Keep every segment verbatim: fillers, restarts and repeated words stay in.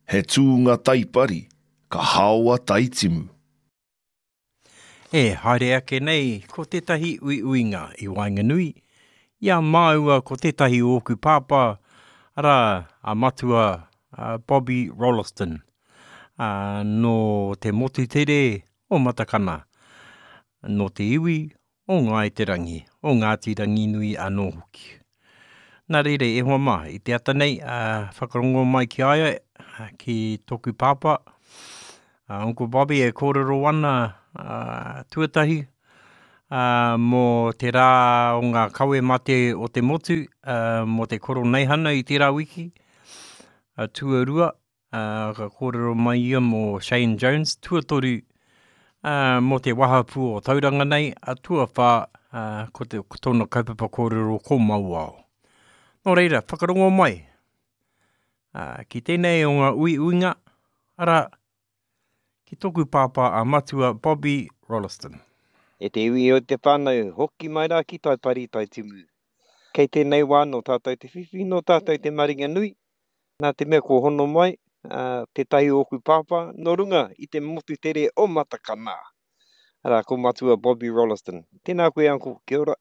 He tūnga taipari, ka haoa taitimu. E haere ake nei ko tētahi uiuinga i waenganui i a māua ko tētahi o ōku pāpā, arā, a Matua a Bobby Rolleston, ā, nō te motu tere o Matakana, nō te iwi o Ngāi Te Rangi, o Ngāti Ranginui anō hoki. Nā reira, e hoa mā, i te ata nei, ā, whakarongo mai ki a ia, ki tōku pāpā, a Uncle Bobby e kōrero ana, ā, tuatahi, ā, mō te rā o ngā kawe mate o te motu, ā, mō te koroneihana i tērā wiki, ā, tuarua, ā, ka kōrero mai ia mō Shane Jones, tuatoru, ā, mō te wahapū o Tauranga nei, a tuawhā, ā, ko, te, ko tōna kaupapa kōrero ko Mauao. Nō reira, whakarongo mai, ā, ki tēnei o ngā uiuinga, arā, ki tōku pāpā a Matua Bobby Rolleston. E te iwi o te whānau, hoki mai rā ki Taipari, Taitimu. Kei tēnei wā nō tātou te whiwhi, nō tātou te maringa nui, nā te mea kua hono mai tētahi o ōku pāpā nō runga i te motu tere o Matakana. Arā, ko Matua Bobby Rolleston. Tēnā koe, Uncle. Kia ora.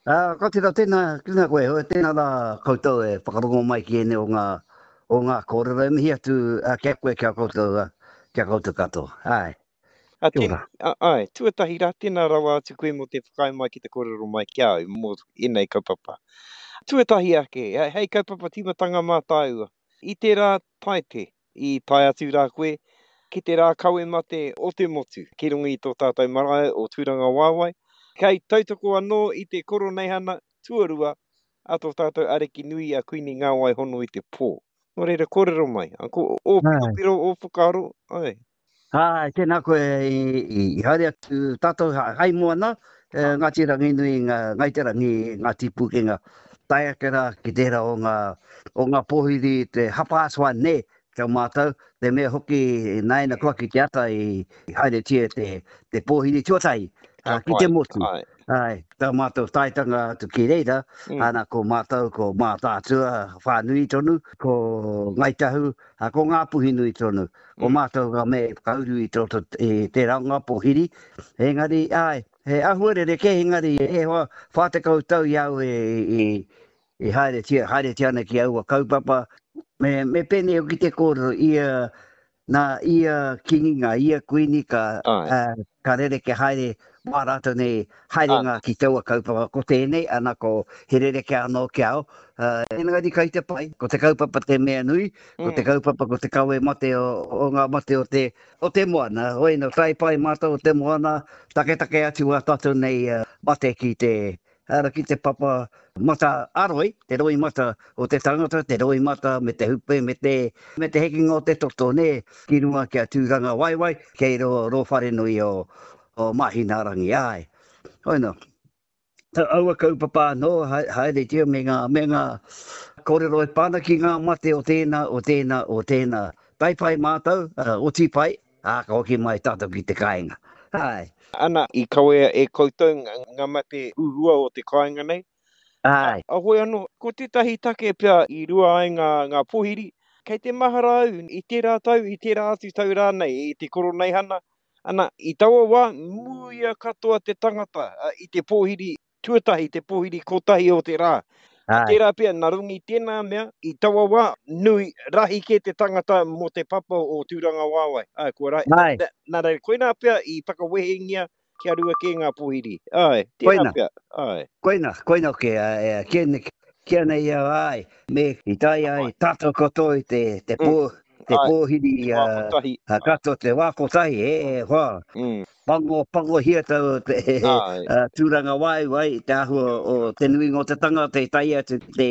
Ā, ka tira, tēnā, tēnā koe, tēnā rā koutou e whakarongo mai ki ēnei o ngā, o ngā kōrero e mihi atu ki a koe, ki a koutou, ki a koutou katoa. Āe. A, ten, a, ai, tuatahi rā, tēnā rawa atu koe mō te whakaae mai ki te kōrero mai ki a au mō ēnei kaupapa. Tuatahi ake, hei kaupapa tīmatanga mā tāua. I tērā Taite, i tae atu rā koe ki te rā kawe mate o te motu, ki runga i tō tātou marae o Tūrangawaewae, kei tautoko anō i te Koroneihana tuarua a tō tātou Ariki nui a Kuini Ngāwai Hono i te Pō. Nō reira, kōrero mai, ko ō piropiro, ō whakaaro, ai. Āe, tēnā koe i haere atu tātou hai moana, Ngāti Ranginui, Ngāi Te Rangi, Ngāti Pūkenga, tae ake rā ki tērā o ngā, o ngā pōhiri te half-past one nē, ki a mātou, te mea hoki nāina koa ki te ata i haeretia te, te pōhiri tuatahi ki te motu. Āe, tā mātou taetanga atu ki reira, ana ko mātou ko Mātaatua whānui tonu, ko Ngāi Tahu, ko Ngāpuhi nui tonu. Ko mātou ngā mea i whakauru i roto i tērā o ngā pōhiri. Engari, āe, he āhua rerekē, engari e hoa, whā tekau tau i a au e i haeretia, haeretia ana ki aua kaupapa. Me, me pēnei hoki te kōrero, ia, nā ia kīngi, ngā ia kuini ka, uh, ka rereke haere wā rātou nei haerenga ki taua kaupapa. Ko tēnei, ana ko he rereke anō ki au. Uh, engari kai te pai, ko te kaupapa te mea nui, ko te mm. kaupapa ko te kawe mate o, o ngā mate o te, o te moana. Hoi no, tae pai mātou o te moana, taketake atu a tātou nei uh, mate ki te, Ara ki te papa mata aroi, te roimata o te tangata, te roimata me te hupe, me te, me te hekenga o te toto, nē, ki runga ki a Tūrangawaewae, kei rō, rō wharenui o, o Māhinaarangi, āe. Hoi nō. Aua kaupapa anō, haeretia me ngā, me ngā kōrero e pā ana ki ngā mate o tēnā, o tēnā, o tēnā. Tae pai mātou, oti pai, ā, ka hoki mai tātou ki te kāinga. Āe. Ana, i kawea e koutou ngā mate huhua o te kāinga nei. Āe. A, hoi anō, ko tētahi take pea i rua ai ngā, ngā pohiri, kei te mahara au i tērā tau, i tērā atu tau rānei, i te Koroneihana, ana, i taua wā, muia katoa te tangata i te pōhiri tuatahi, te pōhiri kotahi o te rā. Āe. Tērā pea, nā runga i tēnā mea, i taua wā, nui, rahi kē te tangata mō te papa o Tūrangawaewae. Āe, kua rahi. Āe. Nā, nā reira, koinā pea i whakawehengia kia rua kē ngā pōhiri. Āe, tērā Koina. pea, āe. Koina, koina hoki, ā, kia, kia nei au, āe, me i tae ai tātou katoa i te, te pō, te Āe, pōhiri, te wā kotahi. ā, katoa te wā kotahi, e, e, hoa. Mm. Pango, pangohia tau te tūrangawaewae i te āhua o te nuinga o te tangata i tae atu ki te,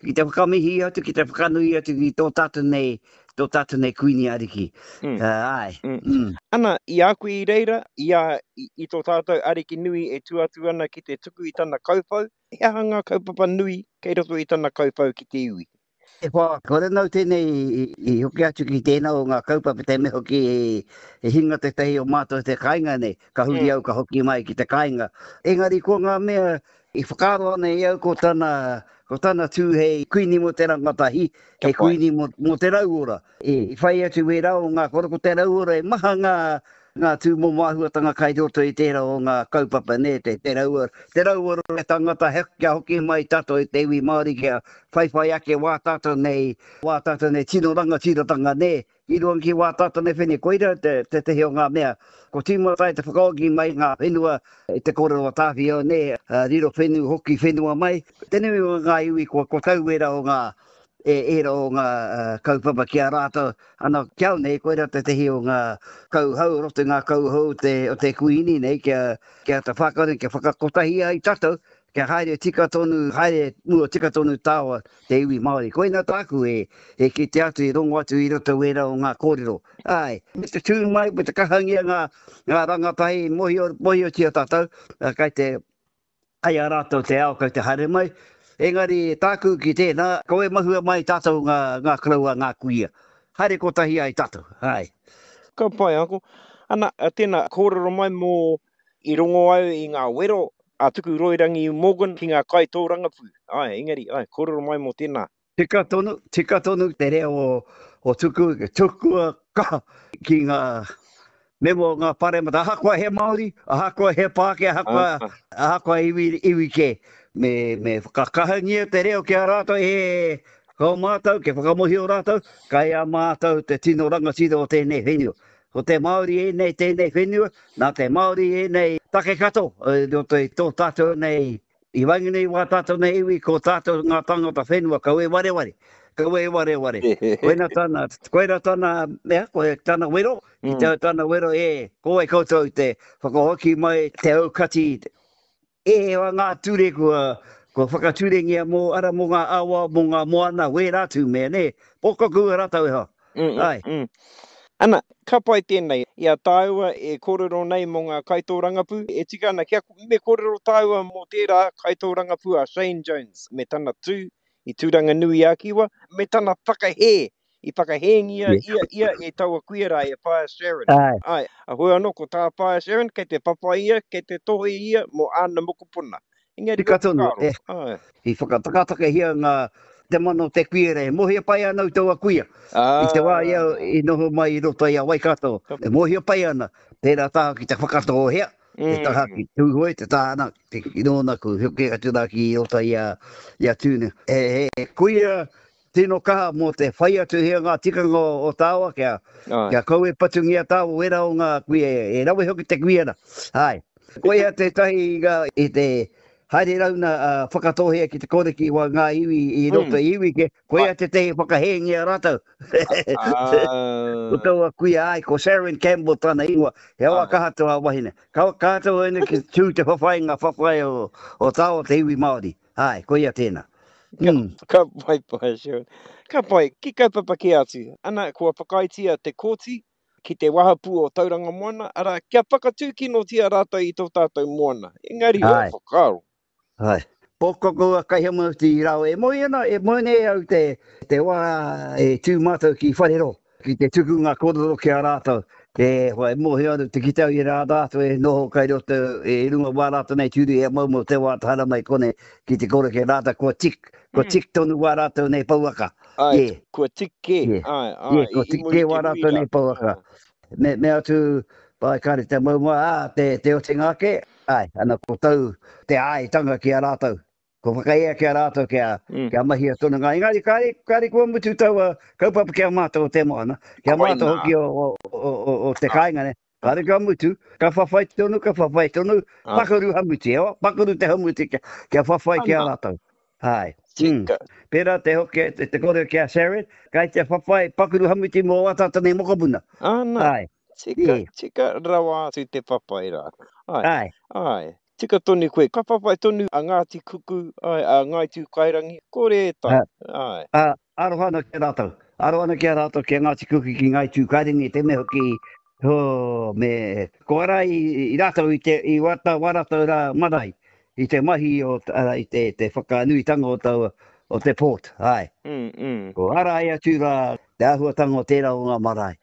ki te whakamihi atu, ki te whakanui atu ki tō tātou nei, tō tātou nei Kuini Ariki. Mm. Uh, āe. Mm. Mm. Ana, i a koe i reira, i a, i, i tō tātou Ariki nui e tū atu ana ki te tuku i tana kauwhau, he aha ngā kaupapa nui kei roto i tana kauwhau ki te iwi? E hoa, kore nau tēnei i hoki atu ki tēnā o ngā kaupapa, te mea hoki i hinga tētahi o mātou te kāinga nei, ka huri au ka hoki mai ki te kāinga. Engari ko ngā mea I whakaaro ana i au ko tana, ko tana tū hei kuini mō te rangatahi, hei kuini mō, mō te rauora. I, i whai atu wērā o ngā koro ko te rauora e maha ngā, ngā tūmomo āhuatanga kai roto i tērā o ngā kaupapa, nē, te, te rauora, te rauora o te tangata he, kia hoki mai tātou i te iwi Māori kia whaiwhai ake wā tātou nei, wā tātou nei tino rangatiratanga, nē, i runga ki wā tātou nei whenua, koira te, tētehi o ngā mea. Ko tīmata ai te whakaoki mai ngā whenua i te kōrero a Tāwhiao, nē, riro whenu, hoki whenua mai. Te nui o ngā iwi kua, kua tau ērā o ngā, e, ērā o ngā uh, kaupapa ki a rātou. Ana, ki au nei, koira tētehi o ngā kauhau, roto i ngā kauhau te, o te kuini nei, kia, kia te whakare, kia whakakotahi ai tātou, kia haere tika tonu, haere mua tika tonu tāua te iwi Māori. Koina tāku e, e kite atu, e rongo atu i roto wērā o ngā kōrero. Ai, me te tū mai, me te kahangia ngā, ngā rangatahi mohio, mohiotia tātou, kai te, kai a rātou te ao, kai te haere mai. Engari tāku ki tēnā, kau e mahua mai tātou ngā, ngā koroua, ngā kuia. Haere kotahi ai tātou, ai. Ka pai, Uncle. Ana, tēnā, kōrero mai mō i rongo au i ngā wero a Tukuroirangi Morgan ki ngā kaitōrangapū. Ai, engari, ai, kōrero mai mō tēnā. Tika tonu, tika tonu te reo o, o Tuku, tukua kaha ki ngā mema o ngā paremata, ahakoa he Māori, ahakoa he Pākehā, ahakoa, ahakoa iwi, iwi kē. Me, me whakakahangia te reo ki a rātou, e, ko mātou, kia whakamohio rātou, kai a mātou te tino rangatira o tēnei whenua. Ko te Māori ēnei tēnei whenua, nā te Māori ēnei take kato, i roto i tō tātou nei, i waenganui i wā tātou nei iwi, ko tātou ngā tangata whenua, kau e wareware, kau e wareware. Koina tana, koina tana mea, koe tana wero, ki te tana wero, e, ko wai koutou te whakahoki mai te aukati, e, ngā ture kua, kua whakaturengia mō, ara mō ngā awa, mō ngā moana, wērā tū mea, nē, pōkoku a rātou e hoa. Mm, Ai. mm. Ana, ka pai tēnei, i a tāua e kōrero nei mō ngā kaitōrangapū, e tika ana kia me kōrero tāua mō tērā kaitōrangapū a Shane Jones, me tana tū i Tūranga Nui a Kiwa, me tana whakahē, i whakahēngia ia, ia e taua kuia rā e Whaea Sharon. Ai. Ai, a hoi anō ko tā Whaea Sharon, kei te whawhai ia, kei te tohe ia mō āna mokopuna. Engari Tika tonu, whakaaro. e. Ai. I whakatakatakahi ngā te mana o te kuia rei. Mōhio pai ana i taua kuia. I te wā ia i noho mai i roto i a Waikato. E mōhio pai ana, tērā taha ki te whakatōhea, te taha ki Tūhoe, te taha ana, te ki nōna ku hoki atu rā ki roto i a, i a Tūne. E, e, kuia tino kaha mō te whai atu hea ngā tikanga o, o tāua kia, kia kau e patungia tāua wera o ngā kuia, e, e rawe hoki te kuia rā. Ai. Koia tētahi i, i te haere rauna uh, whakatōhea ki te koreki wa ngā iwi i roto mm. iwi ke, koia tētahi whakahēngia rātou. Ko taua kuia ai, ko Sharon Campbell tana ingoa, he awa kaha tō a wahine. Ka kaha tō ene ki tū te whawhai ngā whawhai o, o tāo te iwi Māori. Ai, koia tēnā. Mm. Ka, ka pai pai, Sharon. Ka pai, ki kaupapa kē atu. Ana, kua whakaaetia te kōti ki te wahapū o Tauranga Moana, ara, kia whakatūkinotia rātou i tō tātou moana. Engari, o whakaaro. Ai. Pōkoko a kaihama ti rau e moe ana, e moe nei au te, te wā e tū mātou ki Wharero, ki te tuku ngā kōrero ki a rātou. E, hoa, e mōhio ana te kite au i rā rātou e noho kai roto, e runga wā rātou nei tūru e maumau te wā tāra mai kone ki te kore ke rātou kua tik, kua tik tonu wā rātou nei pouaka. Ai, Yeah. kua tik kē. Yeah. Ai, ai, Yeah, kua i, i tik muri kē te wā hui rātou rā. nei pouaka. Me, me atu, pai kare te maumau, ā, te, te otinga ake, ai, ana ko tau te āitanga ki a rātou. Ko whakaea ki a rātou kia, Mm. kia mahia tonu ngā. Engari, kare, kare kua mutu taua kaupapa ki a mātou o te moana, ki a mātou Koina. hoki o, o, o, o, o te kāinga ne. Kare ka mutu, ka whawhai tonu, ka whawhai tonu, Ah. pakaru hamuti, ewa, pakaru te hamuti kia, kia whawhai ki a Ana. rātou. Ai. Mm. Tika. Pērā te hoki, te, te kore ki a Sharon, kai te whawhai pakaru hamuti mō wā tātou nei mokopuna. Ana. Ai. Tika, Yeah. tika rawa atu te whawhai rā. Ai. Ai. Ai. Tika tonu koe. Ka whawhai tonu a Ngāti Kuku, ai, a Ngāi Tūkairangi, kore e tai. Ai. Uh, aroha ana ki a rātou. Aroha ana ki a rātou ki a Ngāti Kuku ki Ngāi Tūkairangi, te mea hoki, oh, me, ko ara i, i rātou i te, i wata, wā rātou rā marae, i te mahi o, ara, i te, te whakanuitanga o taua, o te port, ai. Mm, mm. Ko ara ai atu rā te āhuatanga o tērā o ngā marae,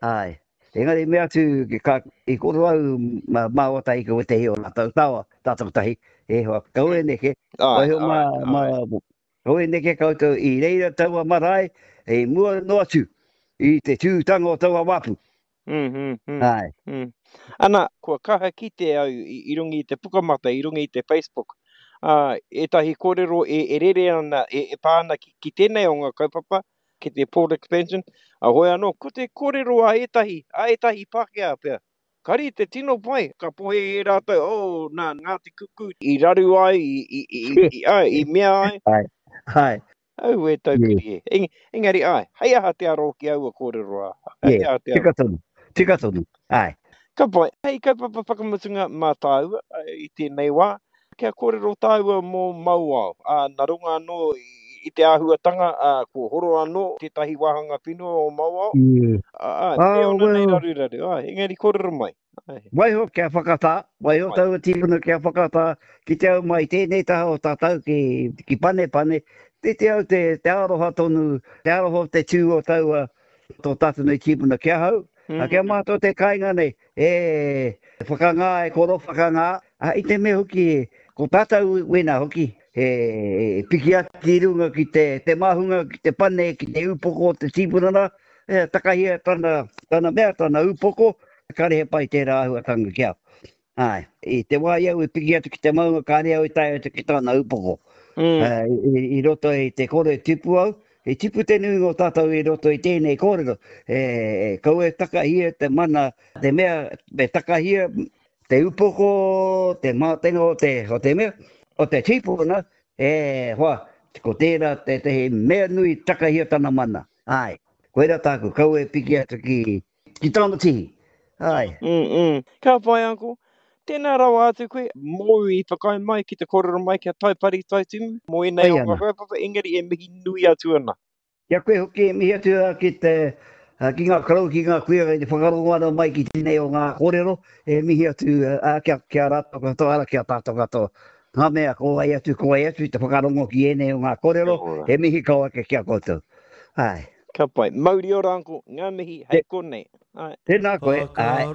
ai. Engari mea atu, ka, i koro au ma, māua tahi ko wētehi o rātou tawa, tātou tahi, e hoa, kaua e neke, waiho mā, mā, kaua e neke koutou i reira taua marae, i mua noa atu, i te tūtanga o taua wāpu. Mm, mm, mm, Āe. Mm. Ana, kua kaha kite au i, i runga i te Pukamata, i runga i te Facebook, ā, ētahi kōrero e, e rere ana, e, e pā ana ki, ki tēnei o ngā kaupapa, ki te Port Expansion, a hoi anō, ko te kōrero a ētahi, a ētahi Pākehā pea. Kari te tino pai, ka pohe e rātou, oh, nā, Ngāti Kuku i raru ai, i, i, i, i, i, ai, i mea ai. Āe, āe. Au e taukiri e. Eng, engari, āe, hei aha te aro ki aua kōrero rā. Hei Yeah, aha te aro. tika tonu, tika tonu, āe. Ka pai, hei kaupapa whakamutunga mā tāua i tēnei wā, kia kōrero tāua mō Mauao. Ā, nā runga anō i te āhuatanga, ā, kua horo anō tētahi wāhanga whenua o Mauao. Yeah. Ā, ā, Ah, me ōna nei well. raruraru, āe, engari kōrero mai. Āe. Waiho kia whakatā, waiho Pai. taua tīpuna kia whakatā, ki te au mai tēnei taha o tātou ki, ki Panepane, te te au te, te aroha tonu, te aroha o te tū o taua tō tātou nei tīpuna ki ahau, a kia Mm. mātou te kāinga nei, e whakangā, e koro whakangā, a i te mea hoki, ko tātou wena hoki, e piki atu ki runga ki te, te māhunga, ki te pane, ki te upoko o te tīpuna rā, e takahia tana, tana mea, tana upoko, kāre he pai tērā āhuatanga ki au. Āe, i te wā i au e piki atu ki te maunga, kāre au i tae atu ki tana upoko. Mm. Uh, i, i roto i te kore tipu au, i tipu te nuinga o tātou i roto i tēnei kōrero. E, e, kaua e takahia te mana, te mea, me takahia te upoko, te mātenga o te, o te mea, o te tīpuna, e, hoa, ko tērā tētehi mea nui takahia tana mana. Āe, koira tāku, kaua e piki atu ki, ki tana tihi. Āe. Mm, mm. Ka pai, Uncle. Tēnā rawa atu koe, mōu i whakaae mai ki te kōrero mai kia Taipari Taitimu, mō ēnei Pai o ngā ana. kaupapa, engari e mihi nui atu ana. Kia koe hoki e mihi atu a ki te, a, ki ngā karau, ki ngā kuia, i te whakarongo ana mai ki tēnei o ngā kōrero, e mihi atu a, kia, kia rātou katoa, ara, kia tātou katoa. Ngā mea, ko wai atu, ko wai atu i te whakarongo ki ēnei o ngā kōrero, Kia ora. e mihi kau ake ki a koutou. Āe. Ka pai. Mauri ora, Uncle. Ngā mihi, hei Te, konei. Āe. tēnā koe, āe.